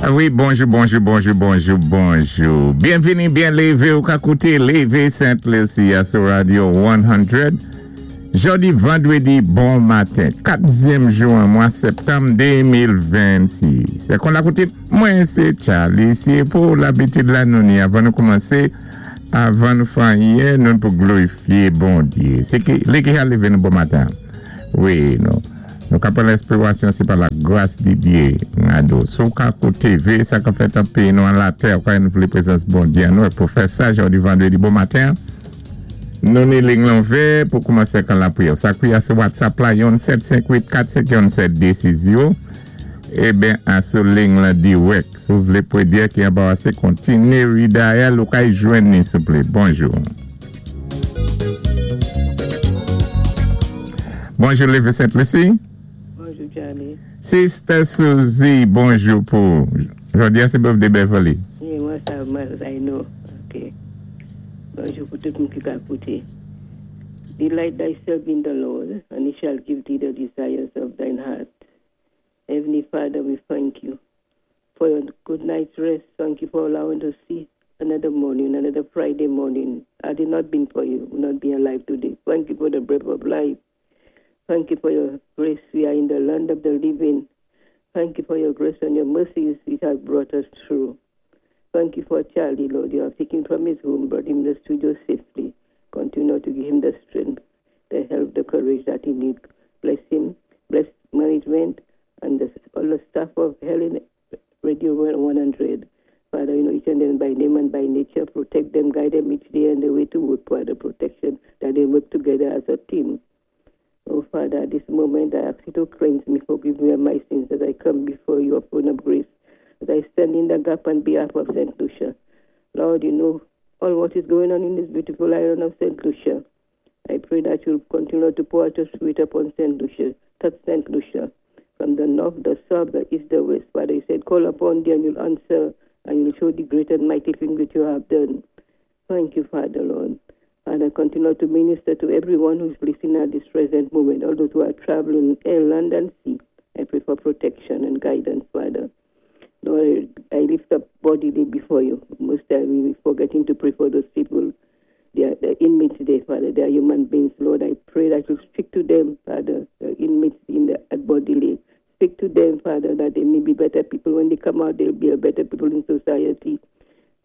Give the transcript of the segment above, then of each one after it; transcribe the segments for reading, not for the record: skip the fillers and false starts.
Wi, bonjou, bonjou, bonjou, bonjou, bonjou. Byenvini, byen lévé ou ka kouté Lévé Sent Lisi sou Radio 100. Jòdi vandwédi bon maten, 4èm jou an mwa septanm 2026. Sé kon la kouté, mwen sé Charlie, si pou labitid la nou ni avan nou koumansé, avan nou fè anyen, nou pou glorifié Bondyé. Sé ki, li ki a lévé nou bon maten. Wi, nou. Nou ka pran lenspirasyon, sé pa la gras di Dyé, ngado. Sou ka kouté ve, sa ka fèt an péyi nou an latè, kwa nou vlé prezans Bondyé an nou, pou fè sa, jòdi vandwédi bon maten, nou ni liy lan ouvè pou koumansé kan lapriyè. Sa kwiyé sou WhatsApp la, yon 758 451 7260. Eben, an sou liy lan dirèk. Si ou vlé pwédyè ki anbarasé, kontiné redial ou kay jwenn ni, souplé. Bonjou. Bonjou, Lévé Sent Lisi. Bonjou, Charlie. Sister Suzy, bonjou pou. Jòdi a, sé birthday Beverly. Wi, mwen sa, mwen, I know. OK. Bonjou pou tout moun ki ka kouté. Delight thyself in the Lord, and he shall give thee the desires of thine heart. Heavenly Father, we thank you for your good night's rest. Thank you for allowing us to see another morning, another Friday morning. Had it not been for you, we would not be alive today. Thank you for the breath of life. Thank you for your grace. We are in the land of the living. Thank you for your grace and your mercies which have brought us through. Thank you for Charlie, Lord. You have taken from his home, brought him to the studio safely. Continue to give him the strength, the help, the courage that he needs. Bless him, bless management, and all the staff of Helen Radio 100. Father, you know each and them by name and by nature. Protect them, guide them each day on the way to work. Father, protection, that they work together as a team. Oh, Father, at this moment I ask you to cleanse me, forgive me of my sins as I come before your throne of grace, as I stand in the gap on behalf of St. Lucia. Lord, you know all what is going on in this beautiful island of St. Lucia. I pray that you'll continue to pour out your spirit upon St. Lucia, touch St. Lucia, from the north, the south, the east, the west. Father, you said, call upon thee and you'll answer, and you'll show the great and mighty things that you have done. Thank you, Father, Lord. Father, continue to minister to everyone who's listening at this present moment, all those who are traveling air, land, and sea. I pray for protection and guidance, Father. Lord, I lift up bodily before you. Most time we forgetting to pray for those people. They are the inmates there, Father. They are human beings, Lord. I pray that you speak to them, Father, the inmates in the at bodily. Speak to them, Father, that they may be better people. When they come out, they'll be a better people in society.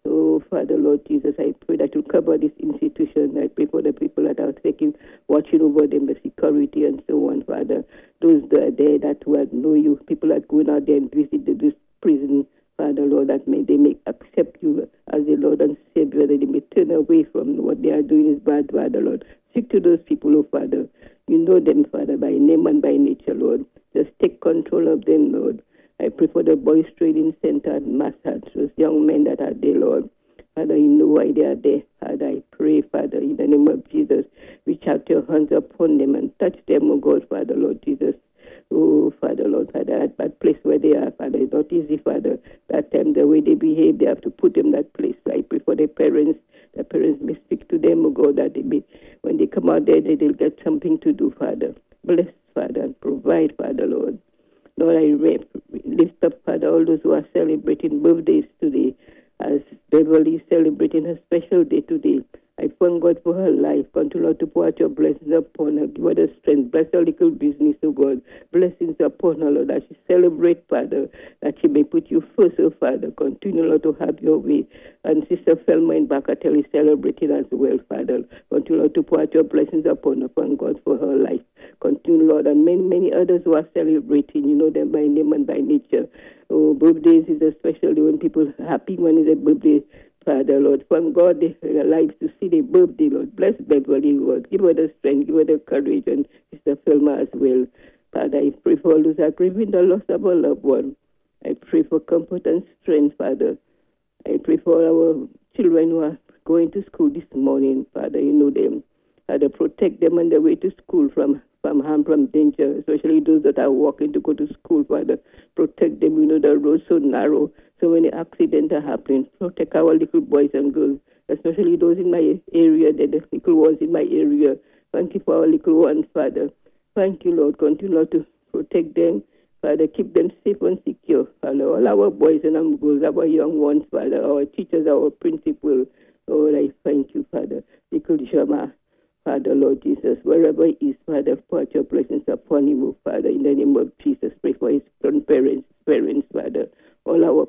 Oh, Father, Lord Jesus, I pray that you cover this institution. I pray for the people that are taking, watching over them, the security and so on, Father. Those that are there that who know you, people that going out there and visit this prison, Father, Lord, that may they may accept you as the Lord and Savior, that they may turn away from what they are doing is bad, Father, Lord. Speak to those people, oh, Father. You know them, Father, by name and by nature, Lord. Just take control of them, Lord. I pray for the Boys Training Center at Massad, those young men that are there, Lord. Father, you know why they are there. Father, I pray, Father, in the name of Jesus, reach out your hands upon them and touch them, oh God, Father, Lord Jesus. Oh, Father, Lord, Father, at that place where they are, Father, it's not easy, Father. That time, the way they behave, they have to put them that place. I pray for their parents. The parents may speak to them, oh God, that they may, when they come out there, they'll get something to do, Father. Bless, Father, and provide, Father, Lord. Lord, I lift up, Father, all those who are celebrating birthdays today, as Beverly is celebrating her special day today. I thank God for her life. Continue, Lord, to pour out your blessings upon her. Give her the strength. Bless her little business, oh God. Blessings upon her, Lord, that she celebrate, Father, that she may put you first, oh Father. Continue, Lord, to have your way. And Sister Felma in Bacatel is celebrating as well, Father. Continue, Lord, to pour out your blessings upon her. Thank God for her life. Continue, Lord, and many, many others who are celebrating. You know them by name and by nature. Oh, birthdays is especially when people are happy when it's a birthday. Father, Lord, thank God they are alive to see their birthday, Lord. Bless Beverly, Lord. Give her the strength, give her the courage, and Sister Filma as well. Father, I pray for all those who are grieving the loss of a loved one. I pray for comfort and strength, Father. I pray for our children who are going to school this morning, Father. You know them. Father, protect them on their way to school from harm, from danger, especially those that are walking to go to school, Father. Protect them. You know the road's so narrow, so many accidents are happening. Protect our little boys and girls, especially those in my area, the little ones in my area. Thank you for our little ones, Father. Thank you, Lord. Continue, Lord, to protect them. Father, keep them safe and secure. Father, Father. All our boys and our girls, our young ones, Father, our teachers, our principal. Lord, I thank you, Father. Little Jama, Father, Lord Jesus, wherever he is, Father, put your blessings upon him, oh, Father, in the name of Jesus. Pray for his grandparents, parents, Father, all our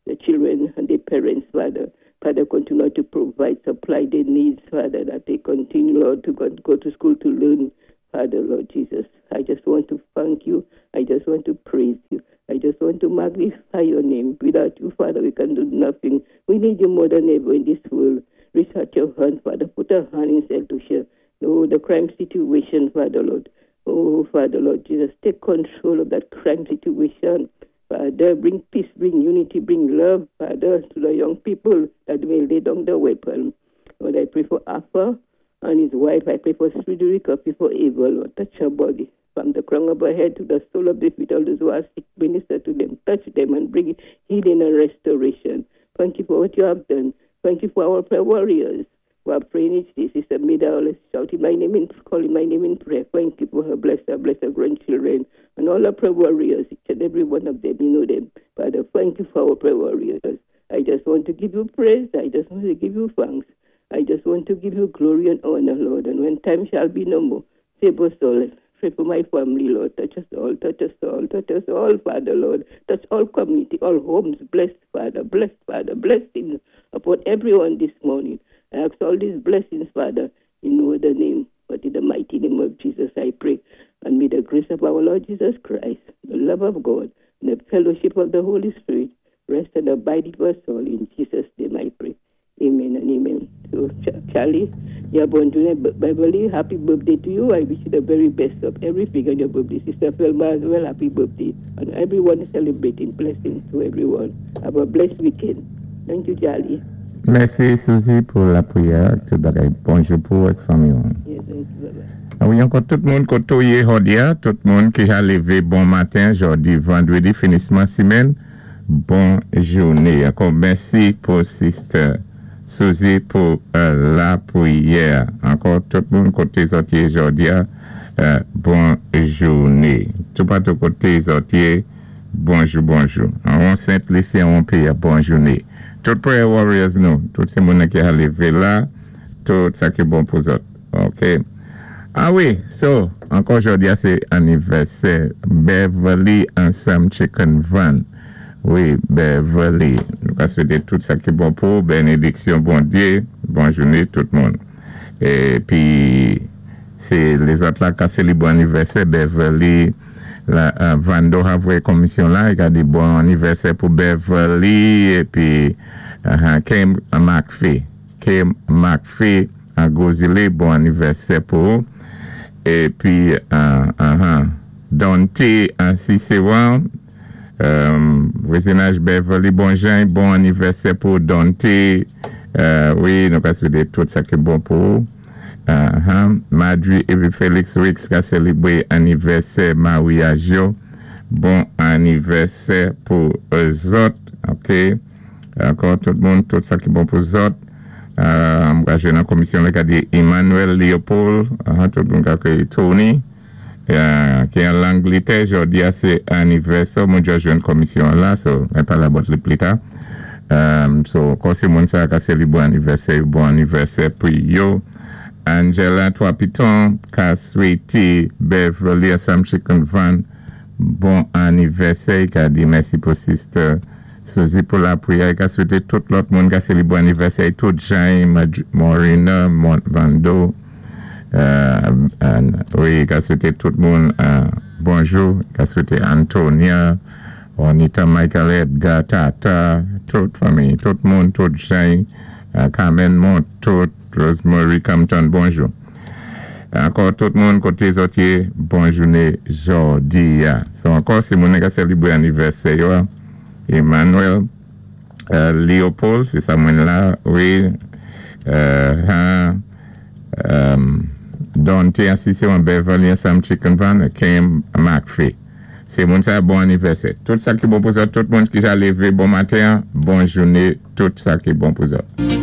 the children and the parents, Father. Father, continue to provide, supply their needs, Father, that they continue, Lord, to go to school to learn, Father, Lord Jesus. I just want to thank you. I just want to praise you. I just want to magnify your name. Without you, Father, we can do nothing. We need you more than ever in this world. Reach out your hand, Father. Put a hand in Saint Lucia. Oh, the crime situation, Father, Lord. Oh, Father, Lord Jesus, take control of that crime situation. Father, bring peace, bring unity, bring love, Father, to the young people that may lay down the weapon. Lord, I pray for Arthur and his wife. I pray for Frederica, I pray for Eva, Lord. Touch her body from the crown of her head to the sole of the feet. All those who are sick, minister to them, touch them and bring healing and restoration. Thank you for what you have done. Thank you for our prayer warriors who are praying each day. Sister Mida always shouting my name and calling my name in prayer. Thank you for her. Bless her, bless her grandchildren and all our prayer warriors, each and every one of them. You know them. Father, thank you for our prayer warriors. I just want to give you praise. I just want to give you thanks. I just want to give you glory and honor, Lord. And when time shall be no more, save us all. Pray for my family, Lord. Touch us all, touch us all, touch us all, Father, Lord. Touch all community, all homes. Bless, Father, bless, Father, blessings upon everyone this morning. I ask all these blessings, Father, in no other name, but in the mighty name of Jesus, I pray. And may the grace of our Lord Jesus Christ, the love of God, and the fellowship of the Holy Spirit rest and abide with us all. In Jesus' name I pray. Amen and amen. So, Charlie, you're born today, Beverly, happy birthday to you. I wish you the very best of everything on your birthday. Sister Felma as well, happy birthday. And everyone celebrating. Blessings to everyone. Have a blessed weekend. Thank you, Charlie. Mèsi, Suzy, pou lapwiyè. Tout bagay. Bonjou pou ak fanmi. Yes, thank you. Bye-bye. Ah wi, ankò tout moun koté ou yé jòdi a, tout moun ki ka lévé bon maten, jòdi vandwédi, finisman simenn, bon jouné. Ankò mèsi pou Sister Suzy pou lapwiyè. Ankò tout moun koté zòt yé jòdi a, bon jouné. Toupatou koté zòt yé, bonjou bonjou. An Sent Lisi, an péyi, bon jouné. Tout prayer warriors nou, tout sé moun ki ka lévé la, tout sa ki bon pou zòt. OK. Ah wi, so, ankò jòdi a sé anivèsè Beverly ansanm Chicken Van. Wi, Beverly. Nou ka swété tout sa ki bon pou bénédiksyon Bondyé. Bon jouné tout moun. Épi sé lézòt la ka sélébré anivèsè Beverly la Vando a voyé komisyon la, i ka di bon anivèsè pou Beverly épi Kim McPhee. Kim McPhee an Gozile, bon anivèsè pou épi Dante an Cicéron, vwazinaj Beverly Bonjean, bon anivèsè pou Dante. Wi, nou ka swété tout sa ki bon pou Madri épi Félix Rix ka sélébré anivèsè maryaj yo. Bon anivèsè pou zòt. OK. Ankò tout moun, tout sa ki bon pou zòt. M ka jwenn nan komisyon la ka di Emmanuel Leopold, tout moun ka kwé Tony, ki an Langlétè, jòdi a sé anivèsè, mwen just jwenn komisyon la, so mwen palé about li pli ta. So, kò sé moun sa ka sélébré anivèsè, bon anivèsè pou yo. Angela Trois Pitons ka swété Beverly ansanm Chicken Van bon anivèsè, ka di mèsi pou Sister Suzy pou lapwiyè, ka swété tout lòt moun ka sélébré anivèsè, tout Jean, Morina, Vando, wi, ka swété tout moun bonjou, ka swété Antonia, Juanita, Michael, Edgar, Tata, tout fanmi, tout moun, tout Jean, Carmen Montout, Rosemary Compton, bonjou. Ankò tout moun koté zòt yé, bon jouné jòdi a. So ankò si moun ka sélébré anivèsè yo, Emmanuel Leopold, sé sa mwen la, wi, Dante Asisyon Beverly ansanm Chicken Van, Kim McPhee. Sé moun sa bon anivèsè. Tout sa ki bon pou zòt, tout moun ki ja lévé bon maten, bon jouné, tout sa ki bon pou zòt.